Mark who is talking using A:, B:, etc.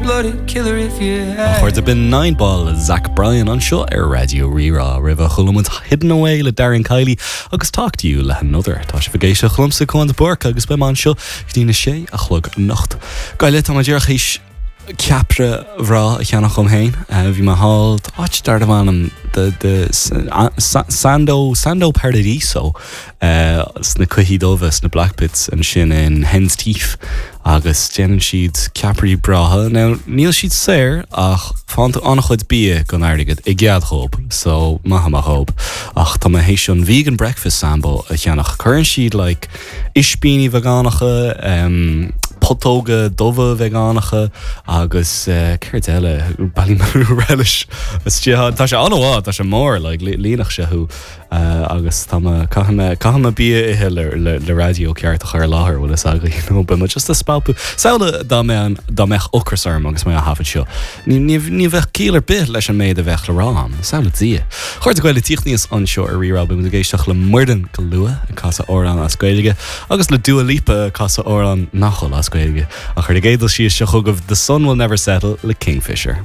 A: Cold-blooded killer if you
B: had. A chairde, b'in Nine Ball le Zach Bryan anseo ar Raidió Rí-Rá. Roimhe chuala muid Hidden Away le Darren Kiley agus Talk to You le hAnother. Tá sibh ag éisteacht liomsa, Cuan de Búrca, agus beidh mé anseo go dtí na sé a chlog anocht. Gaile, tá mé díreach théis ceapaire bhreá a cheannach dhom féin. Bhí mé thall, áit darbh ainm the the Sando Sando Paradiso sna Cloichí Dubha, sna Blackpits ansin in Hen's Teeth agus déanann siad ceapairí breátha. Now níl siad saor ach faigheann tú an-chuid bia don airgead i gcead dhób so maith amach dhób. Ach tá mé théis an vegan breakfast sambo a cheannach. Cuireann siad like ispíní veigeánacha, putóga dubha veigeánacha agus céard eile, Ballymaloe relish istigh ann. Tá sé an-mhaith, tá sé mór like líonfadh sé thú. Agus tá mé, caithfidh mé, caithfidh mé bia a ithe le, le, le raidió ceart a chur i láthair, bhfuil fhios agaibh, you know, beidh mé just ag spalpadh. Samhlaigh dá mbeadh, dá mbeadh ocras orm agus mé á thaifead seo. Ní, ní, ní bheadh ciall ar bith leis an méid a bheadh le rá agam. Samhlaigh Dia. A chairde Gael ag tíocht aníos anseo ar Rí-Rá, beidh muid ag éisteacht le Muireann go luath ag casadh amhrán as Gaeilge agus le Dua Lipa ag casadh amhrán nach bhfuil as Gaeilge. Ach ar an gcéad dul síos seo chugaibh The Sun Will Never Settle le Kingfisher.